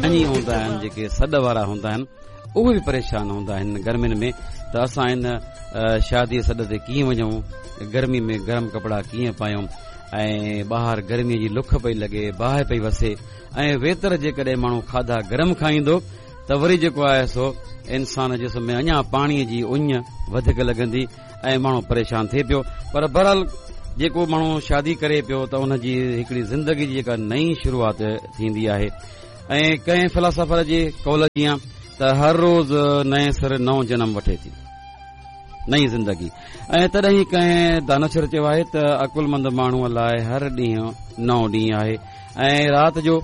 ڌڻي هوندا آهن جيڪي سڏ وارا هوندا آهن اهي به پريشان هوندا آهن گرمين ۾ ته اسان ان شادي سڏ تي ڪيئن وڃون گرمي ۾ گرم ڪپڙا ڪيئن پايون ۽ ٻاهر گرمي جي لک پئي لڳي باهه پئي وسي ۽ ويتر جيڪڏهن ماڻهو کاڌا گرم کائيندو ته وري جيڪو آهي سو انسان جسم ۾ اڃا پاڻي جي اڃ وڌيڪ لڳندي ۽ ماڻهو پريشان ٿئي پيو پر بهرحال جيڪو ماڻهو شادي ڪري پيو ته ان جي هڪڙي زندگي جي جيڪا نئين شروعات ٿيندي آهي ۽ ڪنهن فلاسافر جي قول جيان ته هر روز نئين سر نئون جنم وٺي ٿي نئين زندگي ۽ تڏهن ئي ڪنهن دانشور چيو آهي ته عقلمند ماڻهوء لاء هر ڏينهن نئون ڏينهن آهي ۽ رات جو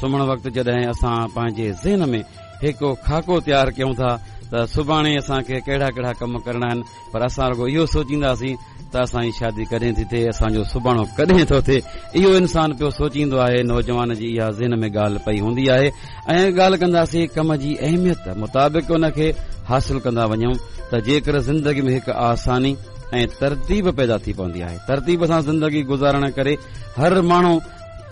سمهڻ وقت جڏهن اسان پنهنجي ذهن ۾ هڪ خاڪو تيار ڪيون ٿا ته سڀاڻي اسان کي ڪهڙا ڪهڙا ڪم ڪرڻا آهن پر اسان رڳو اهو سوچينداسين ته اسان جي شادي ڪڏهن ٿي ٿئي اسان جو سڀاڻو ڪڏهن ٿو ٿئي اهو انسان پيو سوچيندو آهي نوجوان جي اها ذهن ۾ ڳالهه پئي هوندي آهي ۽ ڳالهه ڪنداسين ڪم جي اهميت مطابق ان کي حاصل ڪندا وڃون ته جيڪر زندگي ۾ هڪ آساني ۽ ترتيب پيدا ٿي پوندي آهي ترتيب سان زندگي گذارڻ ڪري هر ماڻهو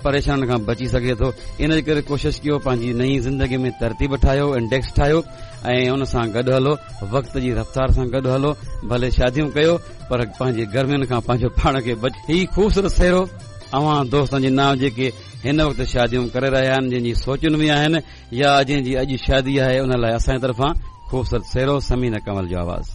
پريشانين کان بچي سگهي ٿو ان جي ڪري ڪوشش ڪيو پنهنجي نئين زندگي ۾ ترتيب ٺاهيو انڊيڪس ٺاهيو ۽ ان سان گڏ هلو وقت جي رفتار سان گڏ هلو ڀلي شاديون ڪيو پر پنهنجي گرمين کان پنهنجو پاڻ کي بچ هي خوبصورت سهرو اوهان دوستن جي نانء جيڪي هن وقت شاديون ڪري رهيا آهن جن جي سوچن ۾ آهن يا جنهن جي اڄ شادي آهي ان لاء اسان جي طرفان خوبصورت سهرو ثمينه ڪنول جو آواز.